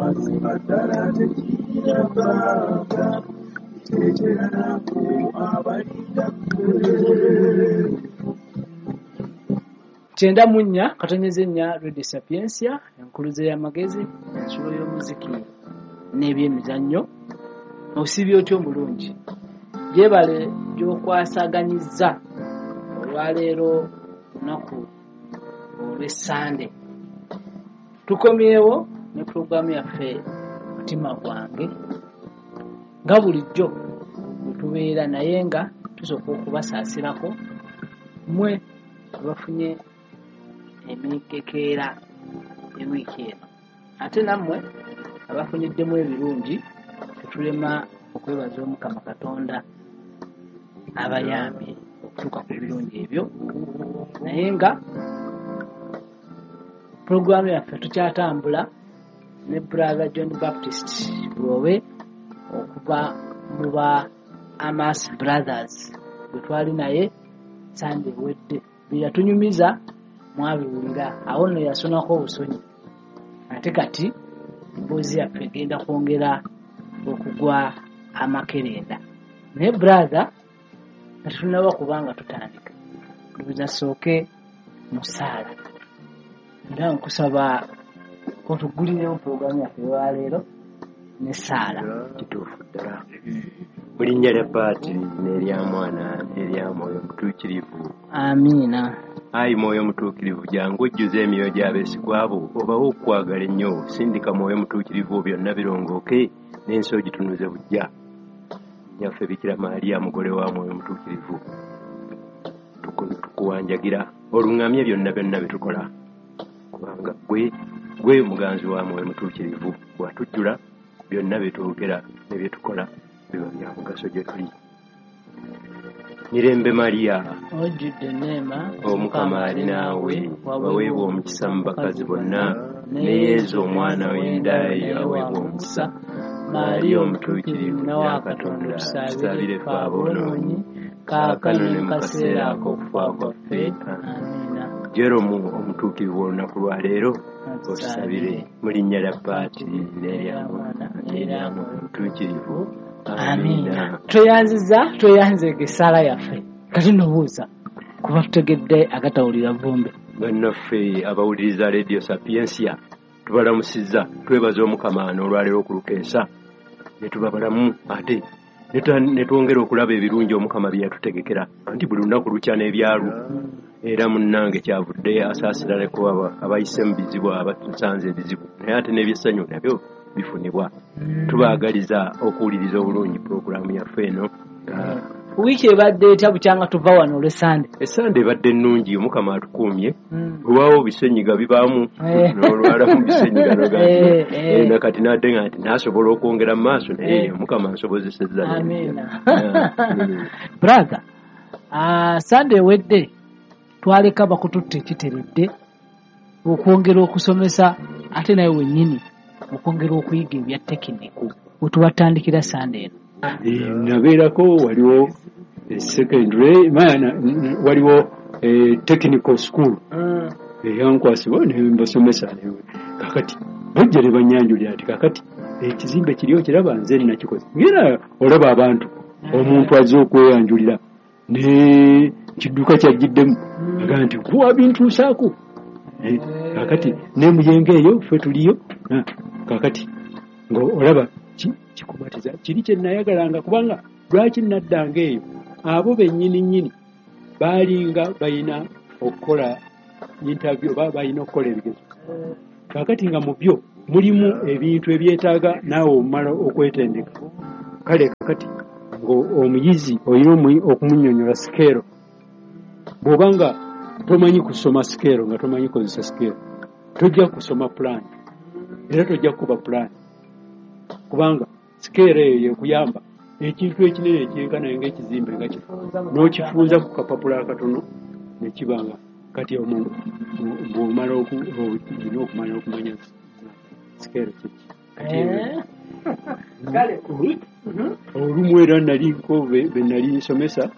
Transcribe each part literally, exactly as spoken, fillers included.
Mazima ddala tekirina bbanga, kiteetera nako abalinda ggwe. Kyenda mu nnya katonyeze nnya Radio Sapientia, enkuluze y'amagezi, ensulo y'omuziki n'ebyemizannyo. Osiibye otya omulungi? Gyebale gy'okwasaganyizza olwaleero lunaku olw'Essande. Tukomyewo ne pulogulaamu yaffe Mutima Gwange nga bulijjo bwe tubeera, naye nga tusooka okubasaasirako mmwe abafunye emikekeera ewiiki eno, ate nammwe abafuniddemu ebirungi tetulema okwebaza Omukama Katonda abayambye okutuuka ku birungi ebyo. Naye nga pulogulaamu yaffe tukyatambula ne Brother John Baptist Lwobe okuva mu ba Amas Brothers bwe twali naye Sande ewedde. Bye yatunyumiza mwabiwulira, awo nno yasonako obusonyi, ate kati emboozi yaffe egenda kwongera okugwa amakerenda. Naye brother, nga tetunnaba kubanga tutandika, ndowooza sooke mu ssaala, era nkusaba otugulirewo pulogulaamu yaffe olwaleero n'essaala. Kituufu ddala. Mu linnya lya Paatiri n'erya Mwana n'erya Mwoyo Mutuukirivu. Amiina. Ayi Mwoyo Mutuukirivu, jangu ojjuze emyoyo gy'abeesigwa bo, obawe okwagala ennyo. Sindika Mwoyo Mutuukirivu, byonna birongooke n'ensi ogitunuze buggya. Nnyaffe Bikira Maria, mugole wa Mwoyo Mutuukirivu, tukuwanjagira oluŋŋamye byonna byonna bye tukola, kubanga gwe gwe muganzi wa Mwoyo Mutuukirivu, bw'atujjula byonna bye twogera ne bye tukola biba bya mugaso gye tuli. Mirembe Maria, ojjudde enneema, Omukama ali naawe, waweebwa omukisa mu bakazi bonna, ne Yezu omwana w'enda yo aweebwa omukisa. Maria omutuukirivu nnyina wa Katonda, tusabire ffe aboonoonyi, kaakano ne mu kaseera ak'okufa kwaffe. Amiina. Jeromu omutuukirivu olunaku lwa leero otusabire. Mu linnya lya Paatiri n'erya Mwana n'erya Mwoyo Mutuukirivu. Amiina. Tweyanziza, tweyanzeege essaala yaffe. Kati nno buuza kuba tutegedde agatawulira vvumbe. Bannaffe abawuliriza Radio Sapientia, tubalamusizza, twebaza Omukama n'olwaleero okulukeesa ne tuba balamu, ate ne twongera okulaba ebirungi Omukama bye yatutegekera, anti buli lunaku lukya n'ebyalwo. Era munnange kyavudde asaasira neko abayise mu bizibu, abatusanze ebizibu, naye ate n'ebyessanyu nabyo bifunibwa. Tubaagaliza okuwuliriza obulungi pulogulaamu yaffe eno. Wiiki ebadde etya bukyanga tuva wano olw'Essande? Essande ebadde ennungi, Omukama atukuumye. Olwawo bisenyiga bibaamu, n'olwalamu bisenyiga nakati nadde nga nti naasobola okwongera mu maaso, naye Omukama nsobozesezza. Amiina. Brother, Sande ewedde twaleka bakututte ekiteredde okwongera okusomesa, ate naye wennyini okwongera okuyiga ebya tekiniko wetubatandikira Sande eno. Nabeerako waliwo secondary, waliwo technical school eyankwasibwa nembasomesa. Kakati bajja ne banyanjulira nti kakati ekizimbe kiri okiraba, nze nakikoze. Ngera olaba abantu, omuntu azze okweyanjulira ne kidduka kyajjiddemu, agamba nti kuwa bintuusaako. Kakati nemuyenga eyo ffe tuliyo. Kakati ng'olaba kikumatiza kiri kye nayagalanga, kubanga lwaki naddanga eyo, abo bennyini nnyini baalinga balina okukola interview oba balina okukola ebigezo. Kakati nga mu byo mulimu ebintu ebyetaaga naawe omumala okwetendeka. Kale kakati ng'omuyizi olina okumunnyonnyola scale. Bw'oba nga tomanyi kusoma scale, nga tomanyi kozesa scale, tojja kusoma plan, era tojja kukuba plan, kubanga scale eyo yekuyamba ekintu ekinene ekyenkana ng'ekizimbe nga kifo n'okifunza ku kapapula akatono nekibanga. Kati omuntu bw'omala olina okumanya okumanya scale kiki. Kati olumu era naliko be nali nsomesa,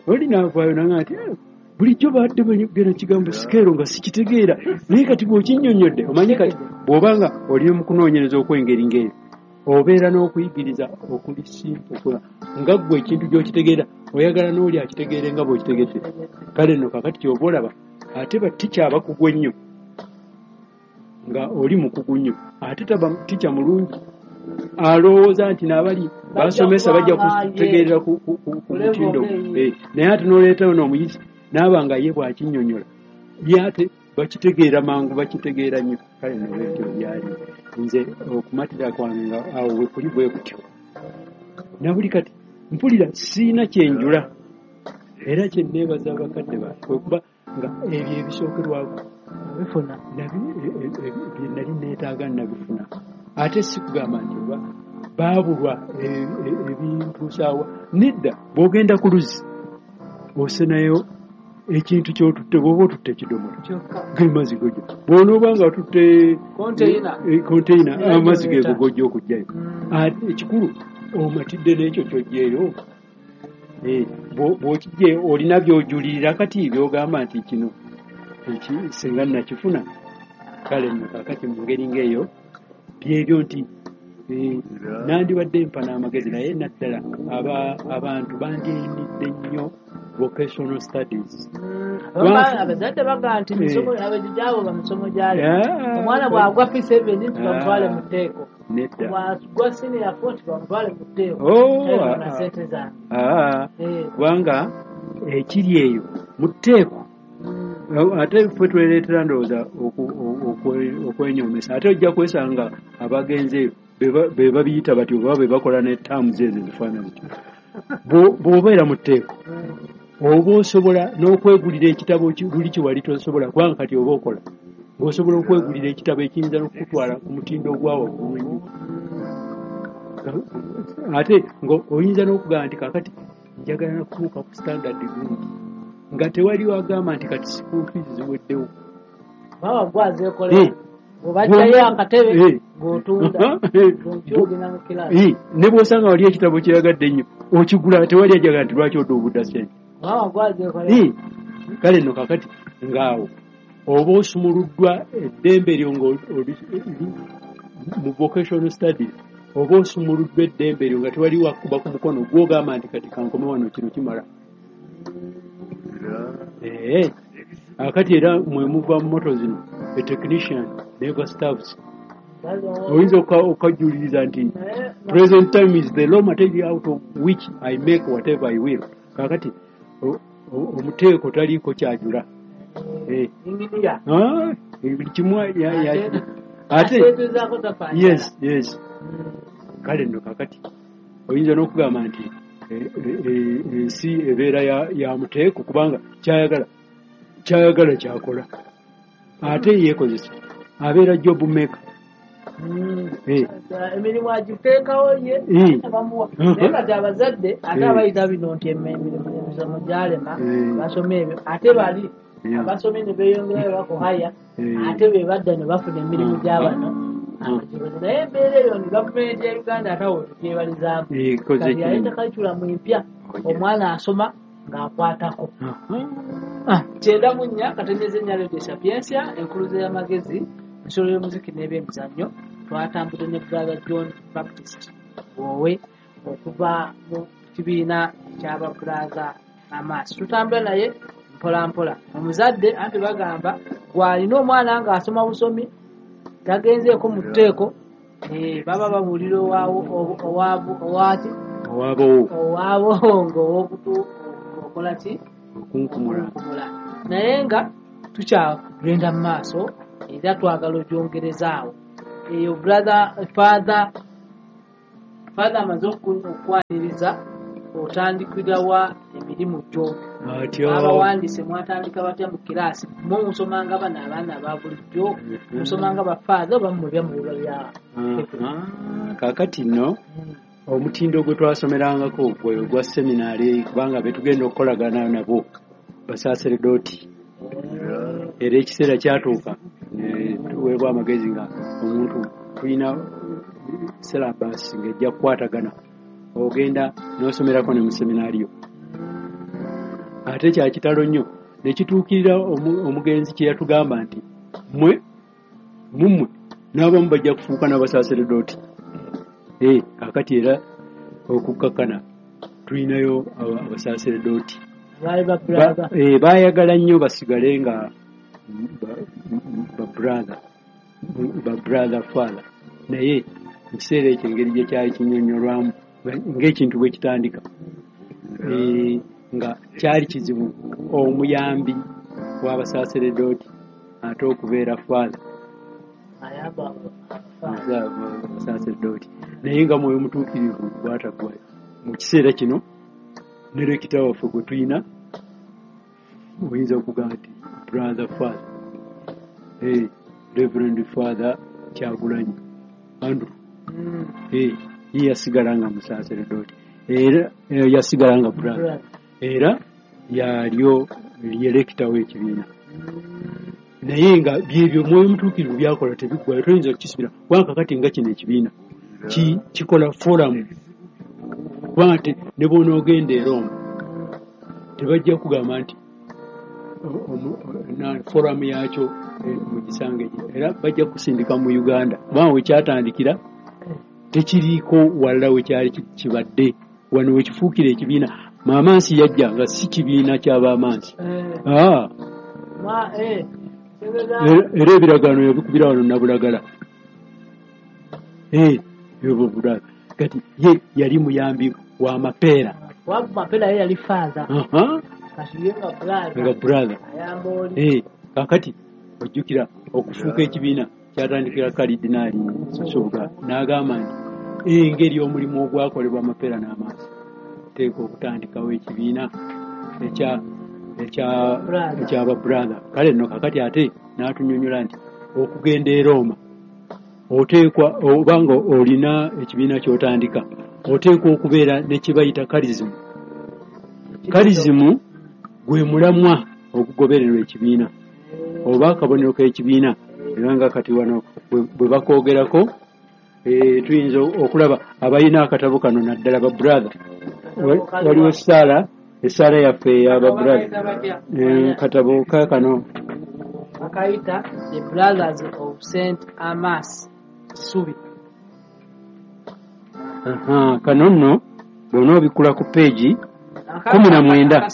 oli naavaayo nanga nti, Bulijjo badde banyogera ekigambo sikeero nga sikitegeera, naye kati bw'okinnyonnyodde omanyi kati bw'obanga oli mu kunoonyereza okw'engeri ng'eyo obeera n'okuyigiriza okuli simple nga ggwe ekintu gy'okitegeera oyagala n'oli akitegeere nga bw'okitegedde. Kale nno kaakati ky'oba olaba ate batica abakugu ennyo nga oli mukugu nnyo ate taba tica mulungi alowooza nti n'abali basomesa bajja kutegeerera ku mutindo, naye ate n'oleetayo n'omuyizi n'aba nga ye bw'akinnyonnyola ye ate bakitegeera mangu, bakitegeera nnyo. Kale nno bwetyo byali nze okumatira kwange nga awo we kuli bwe kutyo. Na buli kati mpulira siina kyenjula era kye nneebaza abakadde bange kwe kuba nga ebyo ebisookerwako bifuna bye nali neetaaga nabifuna. Ate si kugamba nti oba baabulwa ebintuusaawa, nedda. Bw'ogenda ku luzzi osenayo ekintu ky'otutte, bw'oba otutte ekidomola ge mazzi gojja, bw'onooba nga otutte konteyina amazzi geego gojja okuggyayo. Ate ekikulu omatidde n'ekyo ky'oggyeyo, bw'okiggyeyo olina by'ojulirira kati by'ogamba nti kino singa nakifuna. Kale nno kaakati mu ngeri ng'eyo byebyo nti nandibadde mpa n'amagezi, naye naddala abantu bandiyinidde nnyo vocational studies. Abazadde bagamba nti misomo gyabo bamisomo gyali omwana bw'agwa P seven nti bamutwale mu tteeko, bw'agwa senior four nti bamutwale mu tteeko na ssente zange. Kubanga ekiri eyo mu tteeko ate ffe twereetera ndowooza okwenyoomesa, ate ojja kwesanga abagenzi eyo be babiyita batyo oba be bakola ne terms ezo ezifaanana zityo. Bw'obeera mu tteeko oba osobola n'okwegulira ekitabo luli kye wali tosobola, kubanga kati oba okola ng'osobola okwegulira ekitabo ekiyinza n'okukutwala ku mutindo ogwa waggulu ennyo. Ate ng'oyinza n'okugamba nti kaakati njagala nakutuuka ku standard gundi, nga tewali wagamba nti kati school fees ziweddewo. Baba gwazeekolera bw'obajjayo akatebe ng'otunda ng'okyogenda mu kiraasi, ne bw'osanga wali ekitabo kyeyagadde ennyo okigula, tewali ajagala nti lwaki oduubudda ssente. Baba gwazeekolera. Kale nno kaakati ng'awo oba osumuluddwa eddembe lyo ng'oli mu vocational studies, oba osumuluddwa eddembe lyo nga tewali wakuba ku mukono gw'ogamba nti kati kankome wano kino kimala. Eh, akati era mwe muva mu moto zino a technician never stops. Oyinza okajuliriza nti present time is the raw material out of which I make whatever I will. Kakati omuteeko taliiko kyajula. Eh, ah, kimu ate yes yes. Kale nno kakati oyinza n'okugamba nti ensi ebeera ya muteeko kubanga kyayagala kyayagala kyakola ate yeekozesa abeera job maker. Emirimu agiteekawo ye bamuwa, naye kati abazadde ate abayita bino nti emirimu emisomo gyalema basome ebyo, ate bali abasomye ne beeyongerayo bakuhaya ate be badda ne bafuna emirimu gy'abano. Naye embeera eyo ni gavumenti ya Uganda ate awo tugyebalizaamu kati yaleeta curriculum empya, omwana asoma ng'akwatako. Kyenda mu nnya katonnyeze nnya Radio Sapientia, enkuluze y'amagezi, ensolo y'omuziki n'ebyemizannyo. Twatambudde ne Brother John Baptist Bwowe okuva mu kibiina eky'aba Brother Amaaso. Tutambula naye mpola mpola. Omuzadde anti bagamba gw'alina omwana ng'asoma busomi tagenzeeko mu tteeko, baba babuulira owaaki owaabo ng'owokutu okola ki okunkumula. Naye nga tukyagenda mu maaso era twagala ogyongerezaawo. Eyo brother father father amaze okukwaniriza otandikira wa emirimu gyo. Abawandiise mwatandika batya mu kiraasi? Mwe musomanga bano abaana aba bulijjo, musomanga bafaatha oba mmwe byamuwulwa bya kaakati nno omutindo gwe twasomerangako gwe gwa seminaari, kubanga be tugenda okukolagana nabo basaaseredooti. Era ekiseera kyatuuka tuweebwa amagezi nga omuntu tulina syllabus ng'ejja kukwatagana, ogenda n'osomerako ne mu seminaariyo. Ate kya kitalo nnyo Nekituukirira omugenzi kye yatugamba nti mmwe mummwe n'abamu bajja kufuuka n'abasaseredooti. Eh, kakati era okukakkana tulinayo abasaseredooti. Eh, baayagala nnyo basigale nga ba brother, ba brother father. Naye mu kiseera ekyo engeri gye kyali kinnyonnyolwamu ng'ekintu bwe kitandika, eh, nga kyali kizibu omuyambi w'abasaseredooti ate okubeera father abasaseredooti. Naye nga Mwoyo Mutuukirivu bw'ataggwayo mu kiseera kino ne rekita waffe gwe tulina oyinza okugamba nti brother father, eh, Reverend Father Kyagulanyi Andrew, eh, ye yasigala nga musaseredooti era yasigala nga brother era yalyo ye rekita w'ekibiina. Naye nga byebyo Mwoyo Mutuukirivu byakola tebiggwayo, toyinza kukisibira kubanga kakati nga kino ekibiina kikola forum, kubanga ne bw'onoogenda e Roma tebajja kugamba nti forum yakyo mugisange, era bajja kusindika mu Uganda kubanga wekyatandikira tekiriiko walala wekyali kibadde. Wano wekifuukira ekibiina, Maamansi yajja nga si kibiina ky'abaamansi. Ah, era ebiragaano yabikubira wano Nabulagala. Eh, kati ye yali muyambi wa Mapeera. Wa Mapeera ye yali father. Aha. Kati ye nga brother. Nga brother. Ayamba oli. Eh, kakati ojjukira okufuuka ekibiina kyatandikira Kalidinaali Nsubuga n'agamba nti engeri omulimu ogwakolebwa Mapeera n'Amansi teeka okutandikawo ekibiina ekya ekya ekyaba brother. Kale nno kakati ate n'atunyonnyola nti okugenda e Roma oteekwa obanga olina ekibiina ky'otandika oteekwa okubeera ne kye bayita karizimu. Karizimu gwe mulamwa okugobererwa ekibiina oba akabonero k'ekibiina. Era nga kati wano bwe bakoogerako eh, tuyinza okulaba abalina akatabo kano naddala ba brother. Waliwo essaala, essaala yaffe ey'aba brother. Katabo kaakano bakayita The Brothers of Saint Amas Kisubi. Aha, kano nno bw'onoobikula ku peegi kumi na mwenda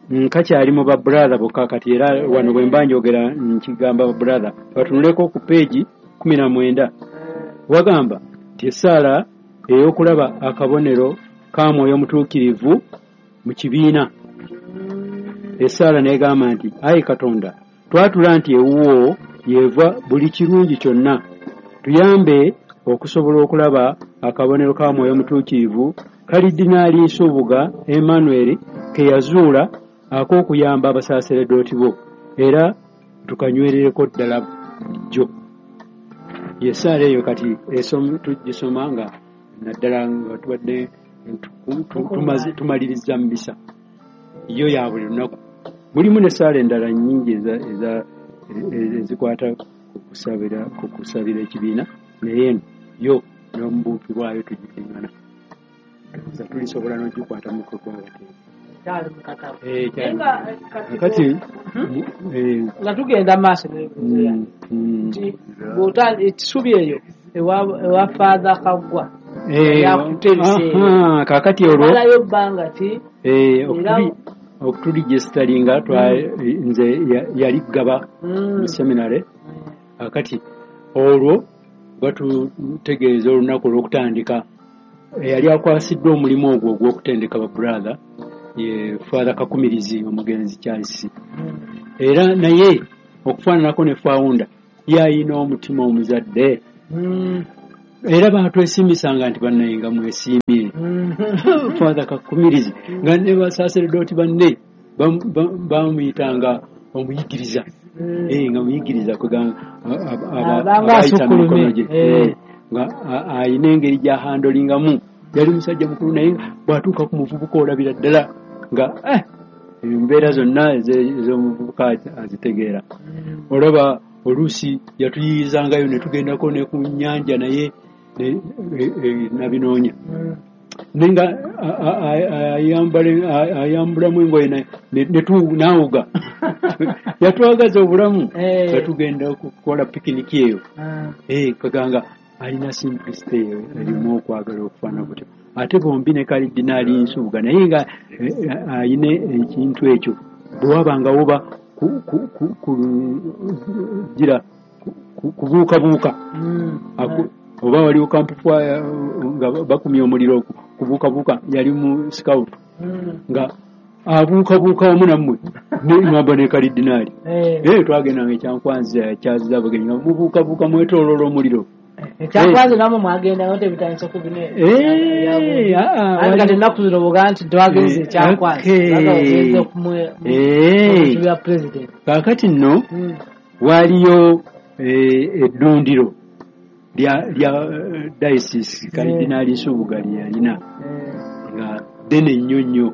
nkakyali mu ba brother bokka kati, era wano bwe mba njogera nkigamba ba brother batunuleko ku peegi kumi na mwenda. Wagamba nti essaala ey'okulaba akabonero ka Mwoyo Mutuukirivu mu kibiina. Essaala n'egamba nti ayi Katonda, twatula nti ewuwo yeva buli kirungi kyonna, tuyambe okusobola okulaba akabonero ka Mwoyo Mutuukirivu Kalidinaali Nsubuga Emmanuel ke yazuula ak'okuyamba abasaseredooti bo, era tukanywerereko ddala bulijjo. Essaala eyo kati tugisoma nga naddala nga tubadde tumaliriza mu misa yo ya buli lunaku. Mulimu n'essaala endala nnyingi ezikwata ku kusabira ekibiina, naye eno yo n'omubuufi bwayo tugiddingana tulisobola n'ogikwata mu kagwabate. Kati nga tugenda maaso nti bw'otandika eyo ewa Father Kaggwa yakutereseera kakati olwo malayo bbanga ki okutuligesitalinga nze yali Ggaba mu seminary. Kakati olwo batutegeeza olunaku olw'okutandika. Eyali akwasiddwa omulimu ogwo ogw'okutendeka ba brother ye Father Kakumirizi omugenzi Charles. Era naye okufaananako ne founder yayina omutima omuzadde. Era batwesiimisanga nti bannaye nga mwesiimye. Father Kakumirizi nga ne basaseredooti banne bamuyitanga omuyigiriza. Eh, nga muyigiriza kugamba abayita mikono gye. Nga ayina engeri gy'ahandolingamu. Yali musajja mukulu naye bw'atuuka ku muvubuka olabira ddala nga eh, embeera zonna ez'omuvubuka azitegeera. Olaba oluusi yatuyiyizangayo ne tugendako ne ku nnyanja naye nabinoonya. Nenga ayambulamu engoye nawuga yatwagaza obulamu nga tugenda kukola pikiniki eyo. Kaganga alina simplicity eyo erimu okwagala okufaanana kutyo. Ate bombi ne Kalidinaali Nsubuga naye nga ayina ekintu ekyo bwe wabanga woba gira kubuukabuuka oba waliwo kampufu nga bakumya omuliro kubuukabuuka yali mu scout nga abuukabuuka wamu nammwe ngamba ne Kalidinaali. Twagendanga ekyankwanzi kyaziza abagenyi nga mubuukabuuka mwetooloola omuliro. Ekyankwanzi namwe mwagendangayo tebitandise ku bino anti kati ennaku zino bw'ogamba nti twagenze ekyankwanzi ogenze ku bya pulezidenti. Kaakati nno waaliyo eddundiro lya diocese Kalidinaali Nsubuga lye yalina nga ddene nnyo nnyo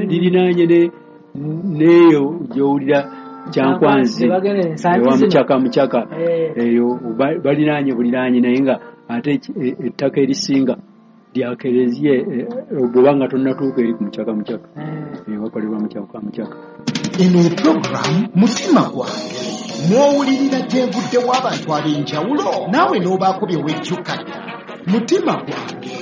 lirinaanye n'eyo gy'owulira Kyankwanzi ewa Mukyaka Mukyaka eyo balinaanye buliraanye naye nga ate ettaka erisinga lya Kereziya bw'oba nga tonnatuuka eri ku Mukyaka Mukyaka wakolebwa Mukyaka Mukyaka. Eno puroguramu Mutima Gwange mw'owulirira gye nvuddewo abantu ab'enjawulo naawe n'obaako bye wejjukanya. Mutima Gwange.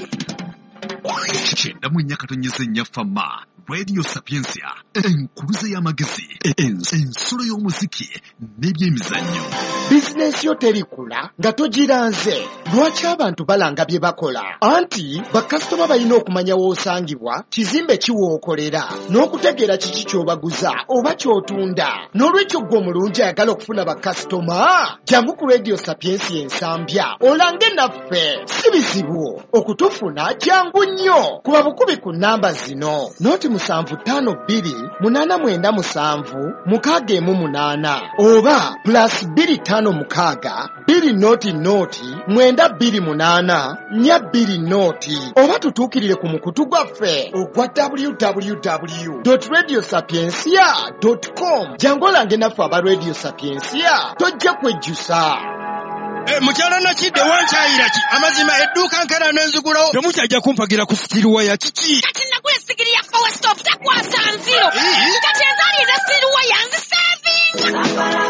Kyenda mu nnya katonyeze nnya Fama Radio Sapientia, enkuluze y'amagezi, ensulo y'omuziki n'ebyemizannyo. Bizinensi yo terikula nga togiranze. Lwaki abantu balanga bye bakola? Anti bakasitoma balina okumanya w'osangibwa, kizimbe ki w'okolera, n'okutegeera kiki ky'obaguza oba ky'otunda. N'olwekyo ggwe omulungi ayagala okufuna bakasitoma, jangu ku Radio Sapientia Ensambya olange naffe. Si bizibu okutufuna, jangu nnyo. Kuba bukubi ku nnamba zino: noti musanvu ttaano bbiri munaana mwenda musanvu mukaaga emu munaana oba plus bbiri ttaano mukaaga bbiri noti noti mwenda bbiri munaana nnya bbiri noti oba tutuukirire ku mukutu gwaffe ogwa w w w dot radio sapientia dot com. Jangu olange naffe aba Radio Sapientia, tojja kwejjusa. Mukyala Nakidde wankyayira ki? Amazima edduuka nkera n'enzigulawo. Temukyajja kumpagira ku sitiruwa ya kiki? Kati nagula essigiri ya power stove takwasa nziro. Kati ezaali eza sitiruwa yanzisevinga.